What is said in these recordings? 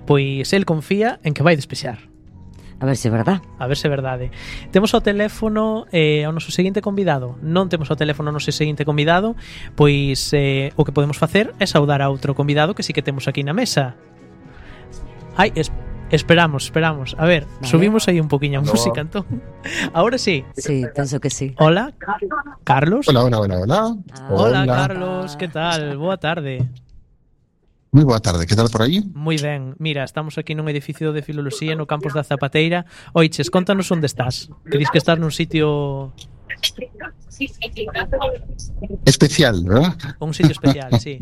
pois el confía en que vai despexar. A ver se é verdad. A ver se é verdade. Temos ao teléfono ao noso seguinte convidado. Non temos ao teléfono ao noso seguinte convidado, pois o que podemos facer é saudar a outro convidado que sí que temos aquí na mesa. Ai, esperamos. A ver, vale. Subimos aí un poquinho a música, entón. Ahora sí. Sí, penso que sí. Hola, Carlos. Hola. Hola, Carlos, que tal? Boa tarde. Moi boa tarde, que tal por aí? Moi ben, mira, estamos aquí nun edificio de filoloxía no campus da Zapateira. Oiches, contanos onde estás. Que dis que estás nun sitio especial, ¿verdad? Un sitio especial, sí.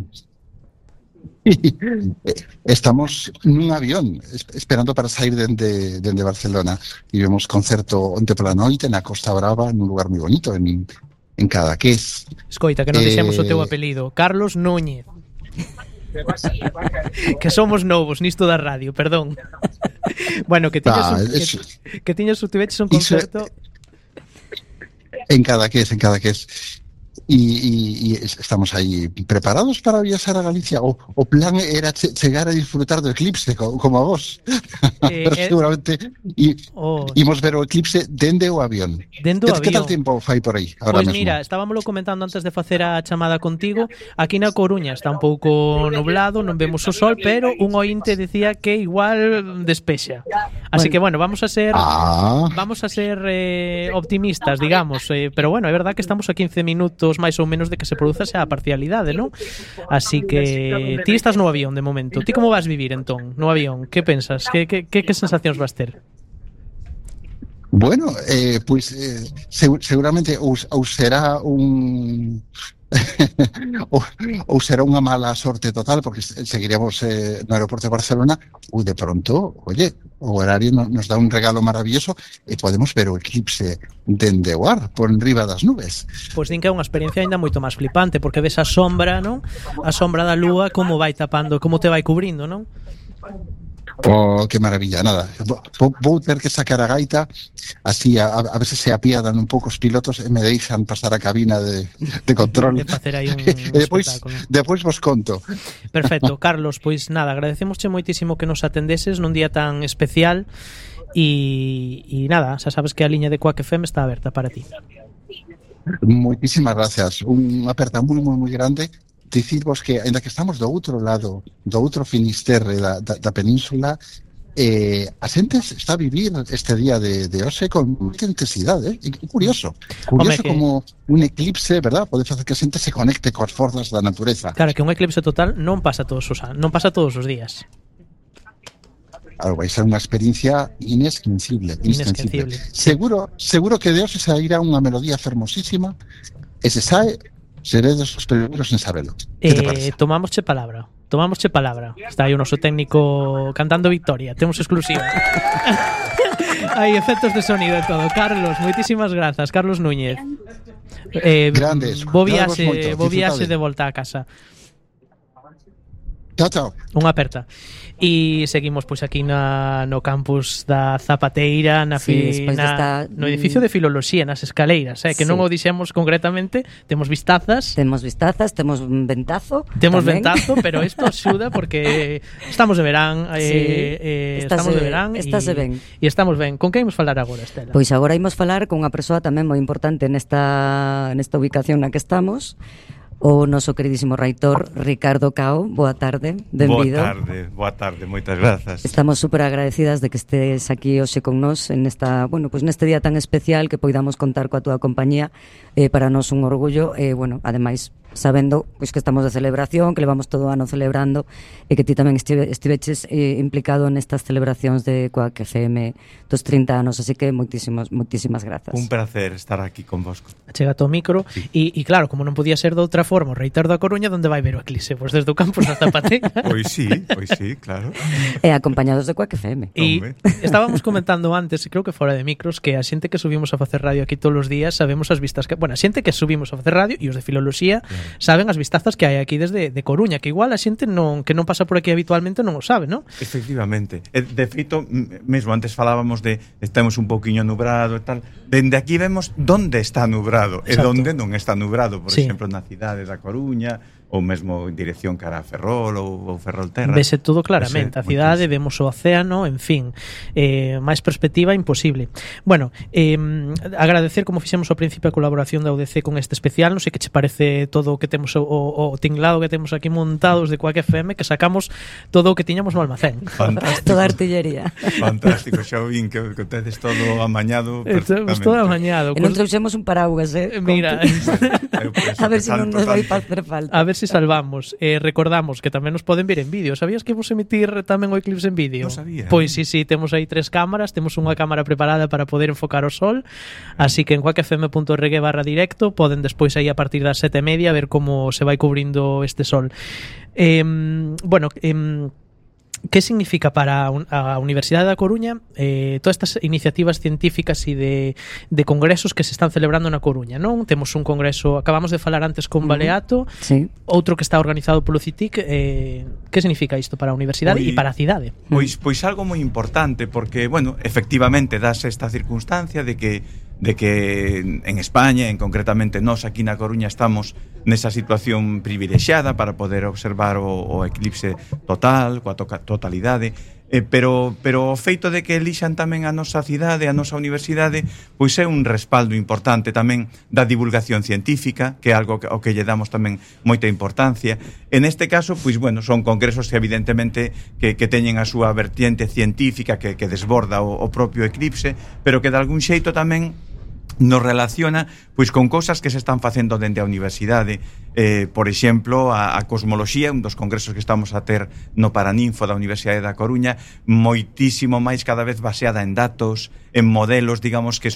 Estamos nun avión esperando para sair dende Barcelona e vemos concerto onte pola noite na Costa Brava, nun lugar moi bonito en Cadaqués. Escoita, que non dixemos o teu apelido, Carlos Núñez. Que somos novos nisto da radio, perdón. Bueno, que tiñas un concerto en Cadaqués. E estamos aí preparados para viaxar a Galicia. O plan era chegar a disfrutar do eclipse como a vos. Pero seguramente imos ver o eclipse dende o avión. Que tal tempo fai por aí ahora mesmo? Pois mira, estábamoslo comentando antes de facer a chamada contigo. Aquí na Coruña está un pouco nublado, non vemos o sol, pero un ointe decía que igual despexa. Así que bueno, vamos a ser optimistas, digamos, pero bueno, é verdad que estamos a 15 minutos máis ou menos de que se produza a parcialidade, non? Así que ti estás no avión de momento. Ti como vas vivir entón no avión? Que pensas? Que sensacións vas ter? Bueno, seguramente ou será un ou será unha mala sorte total, porque seguiremos no aeroporto de Barcelona, ou de pronto, oye, o horario nos dá un regalo maravilloso e podemos ver o eclipse dende o ar, por enriba das nubes. Pois din que é unha experiencia ainda moito máis flipante, porque ves a sombra, non? A sombra da lúa como vai tapando, como te vai cubrindo, non? Oh, que maravilla, nada. Vou ter que sacar a gaita así a ver se apiadan un pouco os pilotos e me deixan pasar a cabina de control. E facer aí un depois vos conto. Perfecto, Carlos, pois nada, agradecemosche moitísimo que nos atendeses nun día tan especial e nada, xa sabes que a liña de Quack FM está aberta para ti. Moitísimas gracias. Unha aperta moi grande. Dicirvos que, ainda que estamos do outro lado, do outro finisterre da península, a xente está a vivir este día de hoxe con moita intensidade, curioso como un eclipse, verdad? Pode facer que a xente se conecte coas forzas da natureza. Claro, que un eclipse total non pasa todos os días. Claro, vai ser unha experiencia inesquecible. Seguro que de hoxe sairá unha melodía fermosísima e se sae seredes os primeiros en sabelo. Tomámosche palabra. Está aí o noso técnico cantando victoria. Temos exclusiva. Hai efectos de sonido e todo. Carlos, moitísimas grazas. Carlos Núñez. Grandes. Bo viaxe de volta a casa. Chao. Unha aperta. E seguimos pois aquí no campus da Zapateira, no edificio de filoloxía, nas escaleiras, que non o dixemos concretamente. Temos vistazas, temos un ventazo. Pero isto axuda porque estamos de verán, estamos ben. E estamos ben. Con que imos falar agora, Estela? Pois agora imos falar con unha persoa tamén moi importante nesta ubicación na que estamos. O noso queridísimo reitor Ricardo Cao. Boa tarde, benvido. Boa tarde, moitas grazas. Estamos super agradecidas de que estés aquí hoxe con nós neste día tan especial, que poidamos contar coa túa compañía. Para nós un orgullo, ademais sabendo pois que estamos de celebración, que levamos todo o ano celebrando, e que ti tamén estiveches implicado nestas celebracións de Quack FM dos 30 anos, así que moitísimas grazas. Un placer estar aquí con vosco. Chega o micro, e claro, como non podía ser de outra forma, o reitor da Coruña, onde vai ver o eclipse? Pois desde o campus da Zapateira. Pois sí, claro. E acompañados de Quack FM. E estábamos comentando antes, creo que fora de micros, que a xente que subimos a facer radio aquí todos os días sabemos as vistas que, a xente que subimos a facer radio e os de filoloxía saben as vistazas que hai aquí desde de Coruña, que igual a xente que non pasa por aquí habitualmente non o sabe, non? Efectivamente. De feito, mesmo antes falábamos de estamos un pouquiño nubrado e tal. Dende aquí vemos onde está nubrado. Exacto. E onde non está nubrado. Por exemplo, na cidade da Coruña, ou mesmo en dirección cara a Ferrol ou Ferrolterra. Vese todo claramente, a cidade, vemos o océano, en fin, máis perspectiva imposible. Bueno, agradecer, como fixemos ao principio, a colaboración da UDC con este especial. Non sei que che parece todo o que temos, o tinglado que temos aquí montados de Quack FM, que sacamos todo o que tiñamos no almacén. Fantástico. Toda a artillería. Fantástico, xa o vin que tedes todo amañado perfectamente. Todo amañado. E non trouxemos un paraguas, Mira, a ver se non nos vai facer falta. A ver se salvamos. Recordamos que tamén nos poden ver en vídeo. Sabías que vos emitir tamén o eclipse en vídeo? Non sabía. Pois sí, temos aí 3 cámaras, temos unha cámara preparada para poder enfocar o sol, así que en quackfm.org/directo poden despois aí a partir das 7:30 ver como se vai cubrindo este sol. Bueno, que significa para a Universidade da Coruña todas estas iniciativas científicas e de congresos que se están celebrando na Coruña, non? Temos un congreso, acabamos de falar antes con Baleato, sí. Outro que está organizado polo CITIC. Que significa isto para a universidade e para a cidade? Pois algo moi importante, porque, bueno, efectivamente dase esta circunstancia de que en España, en concretamente nós aquí na Coruña, estamos nesa situación privilexiada para poder observar o eclipse total, coa totalidade, pero o feito de que elixan tamén a nosa cidade, a nosa universidade, pois é un respaldo importante tamén da divulgación científica, que é algo ao que lle damos tamén moita importancia. En este caso, pois bueno, son congresos que evidentemente que teñen a súa vertiente científica que desborda o propio eclipse, pero que de algún xeito tamén nos relaciona pois con cousas que se están facendo dende a universidade. Por exemplo, a cosmoloxía, un dos congresos que estamos a ter no Paraninfo da Universidade da Coruña, moitísimo máis, cada vez baseada en datos, en modelos, digamos, que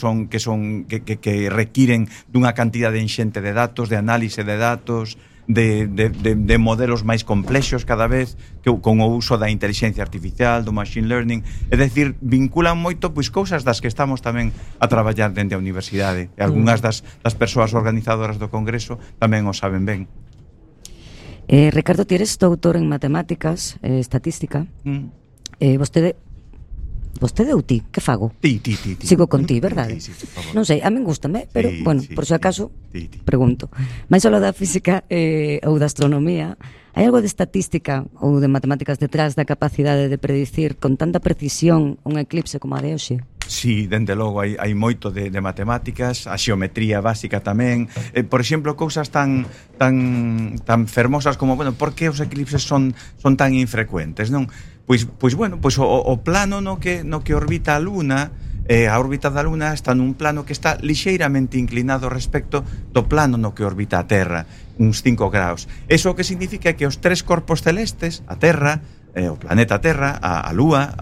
requiren dunha cantidade enxente de datos, de análise de datos, de modelos máis complexos cada vez, que con o uso da inteligencia artificial, do machine learning. É dicir, vinculan moito pois cousas das que estamos tamén a traballar dende a universidade. E algunhas das persoas organizadoras do congreso tamén o saben ben. Ricardo, ti eres doutor en matemáticas, estatística. Vostede ou ti? Que fago? Ti. Sigo con ti, verdade? Sí, por favor. Non sei, a min gústame, pero, sí, bueno, sí, por si acaso, ti. pregunto. Mais algo da física ou da astronomía, hai algo de estatística ou de matemáticas detrás da capacidade de predicir con tanta precisión un eclipse como a de hoxe? Sí, dende logo hai moito de matemáticas, a xeometría básica tamén. Por exemplo, cousas tan fermosas como, bueno, por que os eclipses son tan infrecuentes, non? Pois bueno, pois o plano no que orbita a Luna, a órbita da Luna está nun plano que está lixeiramente inclinado respecto do plano no que orbita a Terra, uns 5 graus. Eso o que significa que os 3 corpos celestes, a Terra, o planeta Terra, a Lúa,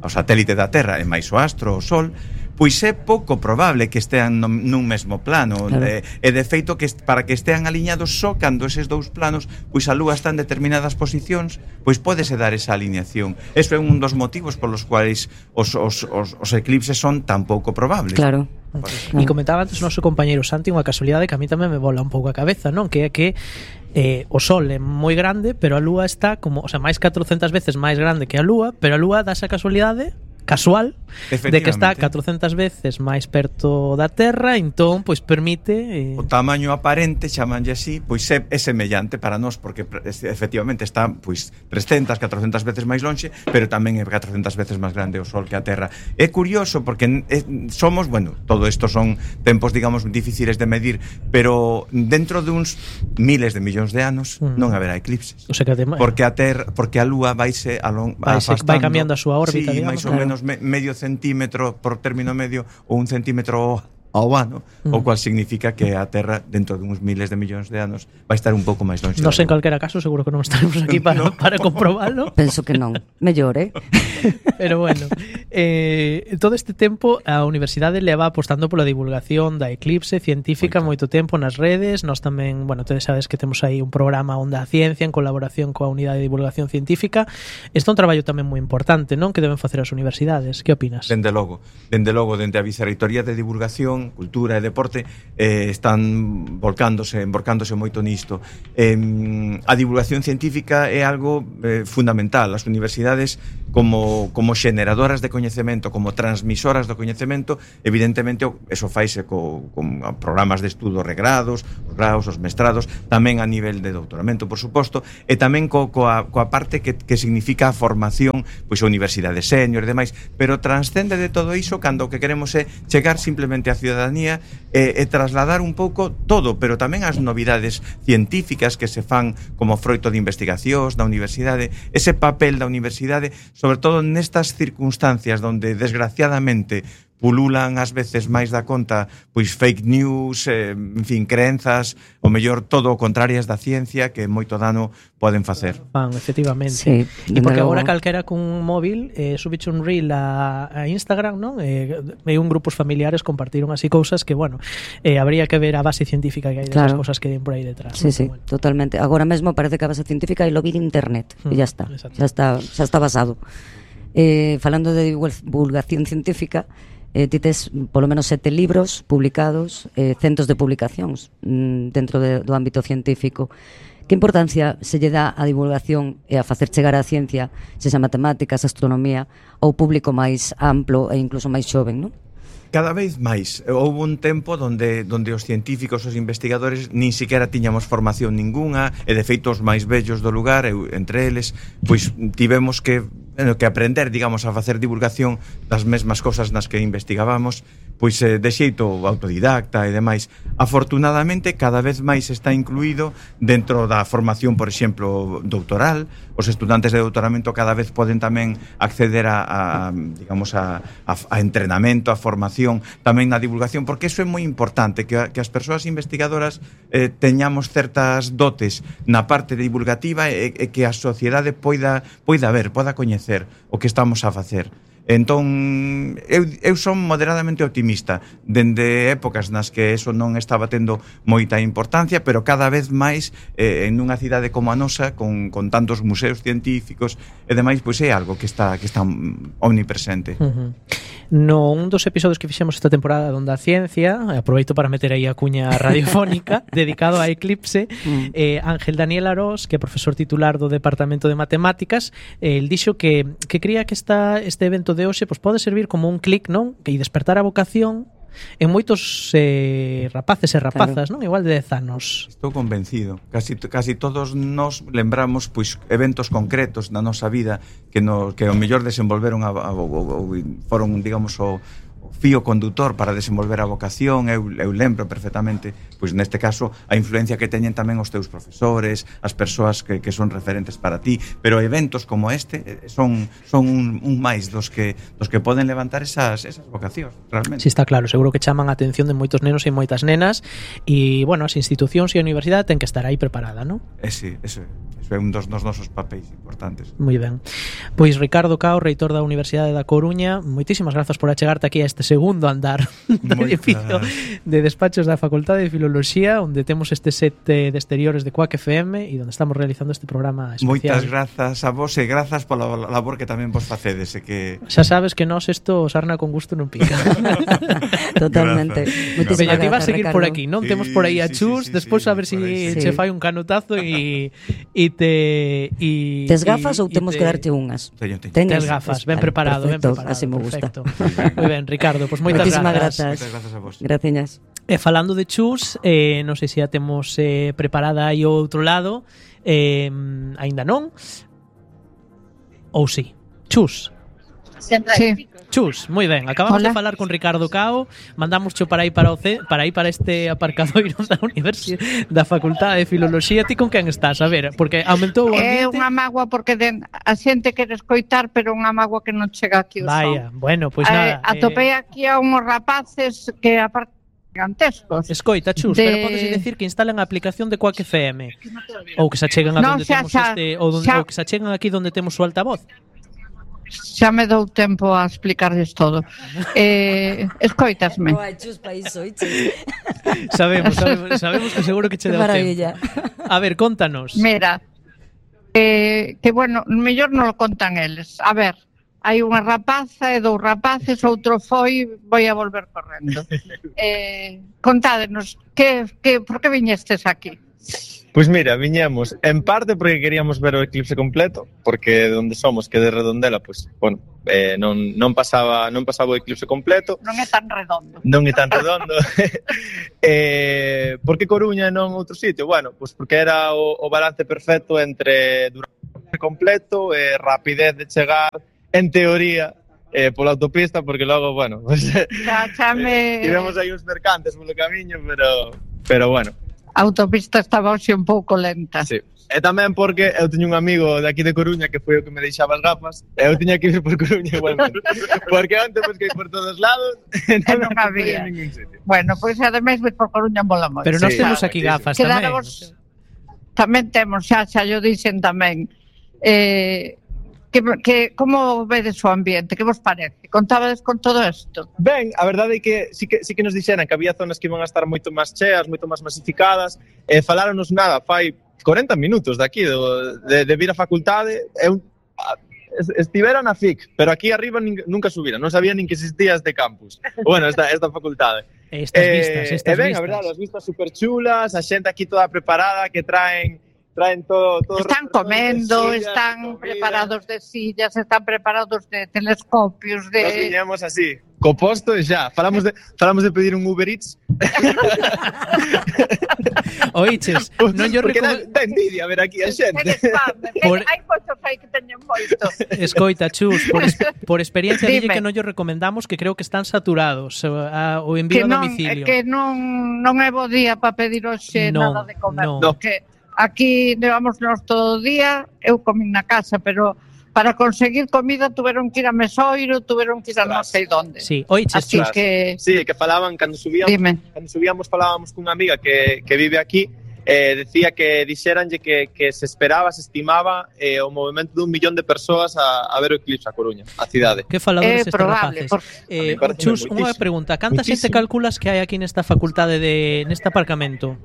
o satélite da Terra e máis o astro, o Sol, pois é pouco probable que estean nun mesmo plano. Claro. E de feito que para que estean aliñados só cando eses dous planos, pois a Lúa está en determinadas posicións, pois pódese dar esa alineación. Eso é un dos motivos polos cuais os eclipses son tan pouco probables. Claro. E comentaba antes o noso compañeiro Santi unha casualidade que a mí tamén me bola un pouco a cabeza, non? Que é que o Sol é moi grande, pero a Lúa está como, o sea, máis 400 veces máis grande que a Lúa, pero a Lúa dá esa casualidade casual de que está 400 veces máis perto da Terra, entón pois permite o tamaño aparente, chamanlle así, pois é semellante para nós, porque efectivamente está pois 300, 400 veces máis lonxe, pero tamén é 400 veces máis grande o Sol que a Terra. É curioso porque somos, bueno, todo isto son tempos, digamos, difíciles de medir, pero dentro de uns miles de millóns de anos non haberá eclipses. O sea que porque a Lúa vai cambiando a súa órbita, sí, digamos, máis ou menos medio centímetro por término medio ou 1 centímetro ao ano, o cual significa que a Terra dentro de uns miles de millóns de anos vai estar un pouco máis longe. Non sei, en calquera caso, seguro que non estaremos aquí para comprobarlo. Penso que non, mellor, Pero bueno, todo este tempo a universidade leva apostando pola divulgación da eclipse científica moito tempo nas redes. Nós tamén, bueno, tedes sabes que temos aí un programa Onda a Ciencia en colaboración coa Unidade de Divulgación Científica. Este é un traballo tamén moi importante, non? Que deben facer as universidades. Que opinas? Dende logo, dende a Vicerreitoría de Divulgación, Cultura e Deporte están emborcándose moito nisto. A divulgación científica é algo fundamental. As universidades, como como xeneradoras de coñecemento, como transmisoras do coñecemento, evidentemente eso faise con programas de estudo regrados, os graus, os mestrados, tamén a nivel de doutoramento, por suposto, e tamén coa parte que significa a formación, pois a universidade senior e demais, pero transcende de todo iso cando o que queremos é chegar simplemente á ciudadanía e trasladar un pouco todo, pero tamén as novidades científicas que se fan como froito de investigacións da universidade, ese papel da universidade, sobre todo nestas circunstancias onde desgraciadamente pululan ás veces máis da conta pois fake news, en fin, crenzas, o mellor todo o contrarias da ciencia que moito dano poden facer. Efectivamente. Sí, E porque agora calquera cun móvil subiche un reel a Instagram, non? E un grupos familiares compartiron así cousas que, bueno, habría que ver a base científica que hai desas cousas que den por aí detrás. Sí, ¿no? sí, Bueno. Totalmente. Agora mesmo parece que a base científica é lo vi en internet e ya está. Xa está basado. Falando de divulgación científica, ti tes polo menos 7 libros publicados, centos de publicacións dentro do ámbito científico. Que importancia se lle dá a divulgación e a facer chegar a ciencia, sexa matemáticas, astronomía, ao público máis amplo e incluso máis xoven, non? Cada vez máis. Houve un tempo donde os científicos, os investigadores nin siquiera tiñamos formación ninguna, e de feito os máis vellos do lugar, entre eles, pois tivemos que aprender, digamos, a facer divulgación das mesmas cosas nas que investigábamos, pois de xeito autodidacta e demais. Afortunadamente, cada vez máis está incluído dentro da formación, por exemplo, doutoral. Os estudantes de doutoramento cada vez poden tamén acceder a entrenamento, a formación, tamén na divulgación, porque iso é moi importante, que as persoas investigadoras teñamos certas dotes na parte divulgativa e que a sociedade poida ver, poida coñecer o que estamos a facer. Entón, eu son moderadamente optimista dende épocas nas que eso non estaba tendo moita importancia, pero cada vez máis en unha cidade como a nosa, con tantos museos científicos e demais, pois é algo que está omnipresente. No un dos episodios que fixemos esta temporada donde a ciencia, aproveito para meter aí a cuña radiofónica dedicado a Eclipse, Ángel Daniel Arós, que é profesor titular do Departamento de Matemáticas, el dixo que cría que este evento de hoxe pois pode servir como un clic, non? Que despertar a vocación en moitos rapaces e rapazas, non? Igual de 10 anos. Estou convencido. Casi todos nos lembramos pois eventos concretos na nosa vida que ao mellor desenvolveron foron, digamos, o fío condutor para desenvolver a vocación. Eu lembro perfectamente, pois neste caso, a influencia que teñen tamén os teus profesores, as persoas que son referentes para ti, pero eventos como este son un máis dos que poden levantar esas vocacións, realmente. Si, está claro, seguro que chaman a atención de moitos nenos e moitas nenas e, bueno, as institucións e a universidade ten que estar aí preparada, non? Sí, eso é un dos nosos papéis importantes. Moi ben. Pois Ricardo Cao, reitor da Universidade da Coruña, moitísimas grazas por achegarte aquí a este segundo andar do edificio de despachos da Facultade de Filoloxía, onde temos este set de exteriores de Quack FM e onde estamos realizando este programa especial. Moitas grazas a vos e grazas pola labor que tamén vos facedes. Xa sabes que nós isto sarna con gusto non pica. Totalmente. Veña, ti vas a seguir por aquí, non? Temos por aí a Chus, despois a ver se che fai un canutazo e tes gafas ou temos que darte unhas? Tes gafas, ben preparado, así me gusta. Moi ben, Ricardo, pois moitas grazas. Moitas grazas a vos. Graciñas. E falando de Chus, non sei se a temos preparada aí ao outro lado, aínda non, ou si. Chus. Sí. Chus, moi ben, acabamos de falar con Ricardo Cao, mandamos para aí para este aparcadoiro da Universidade da Facultade de Filoloxía. Ti con quen estás? A ver, porque aumentou o ambiente. É unha mágoa porque a xente quere escoitar, pero unha mágoa que non chega aquí o son. Vaya, bueno, pois nada. Atopei aquí a unhos rapaces que aparte gigantescos. Escoita, Chus, pero podes decir que instalen a aplicación de Quack FM ou que se acheguen a donde temos ou que se acheguen aquí donde temos o altavoz. Xa me dou tempo a explicarles todo. Escoitasme. Sabemos que seguro que che deu tempo. A ver, contanos. Mira, que bueno, mellor non lo contan eles. A ver, hai unha rapaza e dous rapaces, outro voy a volver correndo. Contádenos, por que viñestes aquí? Pois mira, viñemos en parte porque queríamos ver o eclipse completo, porque de onde somos, que de Redondela, pois, bueno, non pasaba o eclipse completo. Non é tan redondo. Non é tan redondo. Por que Coruña e non outro sitio? Bueno, pois porque era o balance perfecto entre duración completo e rapidez de chegar, en teoría, pola autopista, porque logo, bueno, pues, tivemos aí uns mercantes polo camiño, pero bueno. A autopista estaba hoxe un pouco lenta. Sí. E tamén porque eu teño un amigo de aquí de Coruña que foi o que me deixaba as gafas e eu tiña que ir por Coruña igualmente. Porque antes busquei por todos lados e non había ningún sitio. Bueno, pois ademais vir por Coruña mola moito. Pero nós temos aquí gafas tamén. Tamén temos, xa yo dixen tamén. Que como vedes o ambiente? Que vos parece? Contábades con todo isto? Ben, a verdade é que sí que nos dixeran que había zonas que iban a estar moito máis cheas, moito máis masificadas, faláronos nada, fai 40 minutos de aquí, de vir á facultade, estivera na FIC, pero aquí arriba nunca subira, non sabía nin que existía este campus. Bueno, esta facultade. Estas vistas. Ben, a verdade, as vistas super chulas, a xente aquí toda preparada, que traen todo están comendo, están preparados de sillas, están preparados de telescopios, de... Nos viñamos así, co posto e xa. Falamos de pedir un Uber Eats. Oiches, non yo porque da envidia ver aquí a xente. Hai moitos aí que teñen moito. Escoita, Chus, por experiencia dille que non yo recomendamos, que creo que están saturados o envío a domicilio. Que non é bo día para pedir hoxe nada de comer, porque aquí levamos todo o día, eu comí na casa, pero para conseguir comida tuveron que ir a Mesoiro, tuveron que ir a non sei donde. Sí, oiches, Chus. Sí, que falaban, cando subíamos falábamos cunha amiga que vive aquí, decía que dixeranlle que se esperaba, se estimaba o movimento de 1 millón de persoas a ver o eclipse a Coruña, a cidade. Que faladores estes rapaces. Chus, unha pregunta, canta xente calculas que hai aquí nesta facultade, neste aparcamento?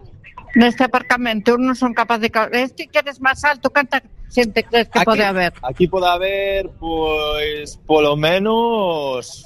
Neste aparcamento non son capaz de... Este que eres máis alto, canta xente crees que aquí, pode haber? Aquí pode haber, pois, polo menos...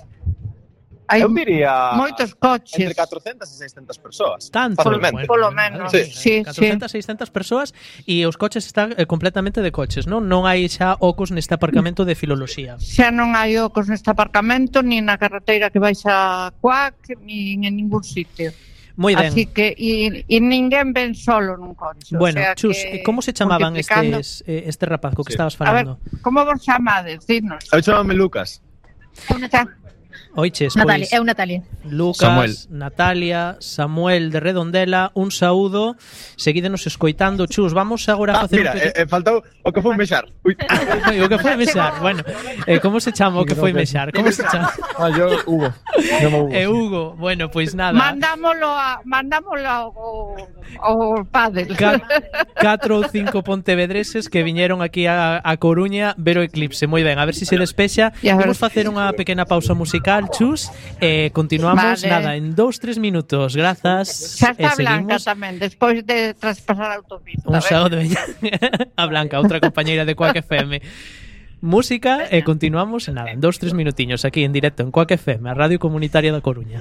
Eu diría... Moitos coches. Entre 400 e 600 persoas. Tanto? Polo menos, sí. 400 e 600 persoas e os coches están completamente de coches, non? Non hai xa ocos neste aparcamento de filoloxía. Xa non hai ocos neste aparcamento, ni na carreteira que vais a Cuac, ni en ningún sitio. Moi ben. Así que e ninguén ven solo nun coche. Bueno, o sea, Chus, como se chamaban este rapaz co que estabas falando? A ver, como vos chamades? Dinos. Eu chamame Lucas. Oiches, Natalia, pois, Natalia. Lucas, Samuel. Natalia, Samuel de Redondela, un saúdo. Seguídenos escoitando, Chus. Vamos agora a facer mira, faltou o que foi mexar. Ui. O que foi mexar. Bueno, como se chama o que foi mexar? Como se chama? Yo Hugo. Hugo. Bueno, pois nada. Mandámolo ao pádel. 4 ou 5 pontevedreses que viñeron aquí a Coruña ver o eclipse. Moi ben, a ver se se despexa. Vamos facer unha pequena pausa musical, Chus, continuamos, nada, en 2-3 minutos. Grazas. Xa está Blanca tamén, despois de traspasar a autopista. Un saúdo a Blanca, outra compañeira de Quack FM. Música e continuamos, nada, en 2-3 minutiños aquí en directo en Quack FM, a Radio Comunitaria da Coruña.